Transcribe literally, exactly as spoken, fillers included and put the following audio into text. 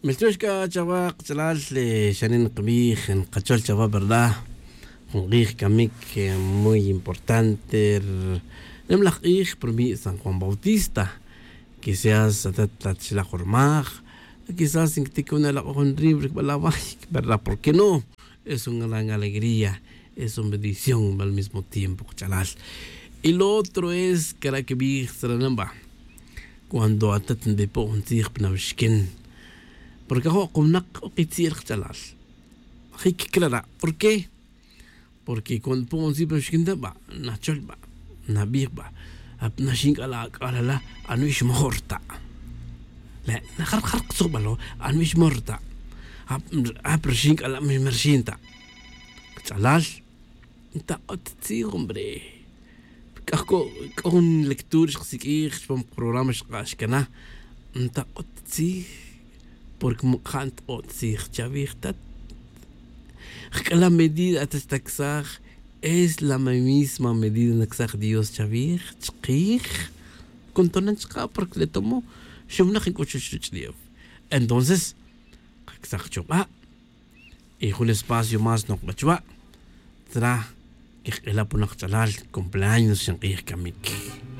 Miltiox c'a chawa kach'alal. Xanin nkabij nkachol chawa verdad. Jun k'ij camic muy importante. Nim laj k'ij prumi' san juan bautista. Quizás atat la txilaj jun rmaj. Quizás nquitic jun alak'oj jun ribra cbal away, verdad? Por qué no? Es un gran alegría. Es un bendición al mismo tiempo kach'alal. Y lo otro es cara' quibij saranan ba, cuando atat nbipo' jun tzij pa nawixquin, porque ajo' kawnak o kitzi'el kach'alal. Jic clara'. Por qué? Porque cuando npo' jun tzij pa nawixquin ta ba, nachol ba, nabij ba, ap naxin c'a la ac'alala, anwi xmajor ta. Le' najar jar ktzujbalo, anwi xmajor ta. Ap rxin c'a la mixmerxin ta. Kach'alal, ntak'ot tzij hombre. C'o jun lectura xkasiq'uij chupam programa xk'ax cana. Ntak'ot tzij, porque muk'ja' ntak'ot tzij chavij tat. Jc'ala' medida at xtacsaj, es la misma medida nacsaj dios chavij chkij. Con tonan chka' porque le tomo xumnak nc'uxux ruch'ulef. Entonces kacsaj chuba'. Y jun espacio más nokba chuba'. Tzra quejk'ela' punak ch'alal cumpleaños xink'ij camic.